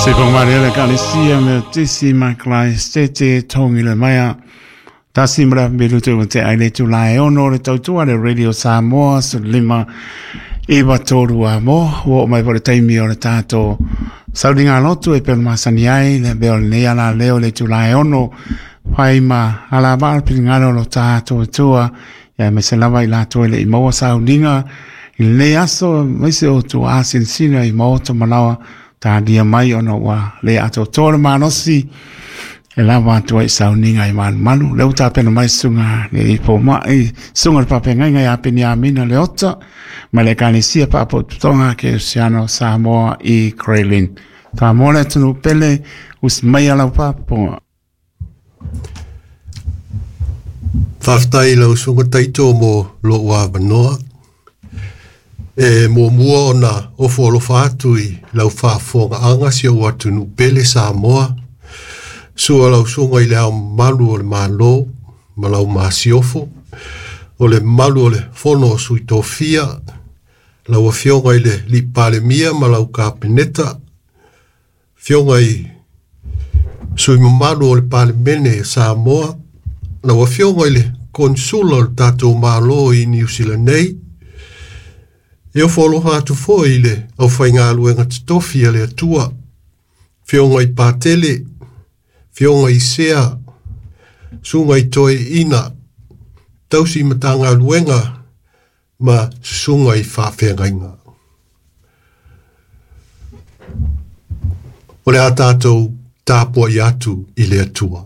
Se whakamāria le Ekalesia Metotisi ma Karaisete Tongile Maia. Tasi mara melu te te ai le tūlā e ono le tautua le Radio Samoa 15 iwa tōru a mo o mai po le taimi o le tātou sauninga lotu e pelo masani ai le beo le nei ala leo le tūlā e ono whai ma ala maa pilingalo lo tātou tua ia me se lava i lātou e le i maua sauninga i le aso mai se o tua asinsina i maoto manawa tālia mai ona ua le ato tōra manosi e lava atu ai sauninga i malu. Le uta pena mai sunga le ipo mai sunga le pape ngai ngai apeni amina le ota ma le kanisia papo tutonga ke Oceano Samoa i Kraylin. Tā mōle tunu pele us mai ala papo. Whaftai lau sunga taito mo lo ua manoa. E mua mua ona ofo alofa atu i lau faafofoga aga si ou atunuu pele Samoa. Sua lau suga i le ao mamalu o le Malo ma lau masiofo, o le mamalu o le fono o sui tofia, lau afioga i le alii Palemia ma lau kapeneta, afioga i sui mamalu o le Palemene o Samoa, lau afioga i le konsula o le tatou Malo i Niu Sila nei, e ofo alofa atu foi i le aufaigaluega totofi a le Atua, afioga i Patele, afioga i Sea, susuga i Toeina, tausi matagaluega ma susuga i faafeagaiga. O le a tatou tapuai atu i le Atua.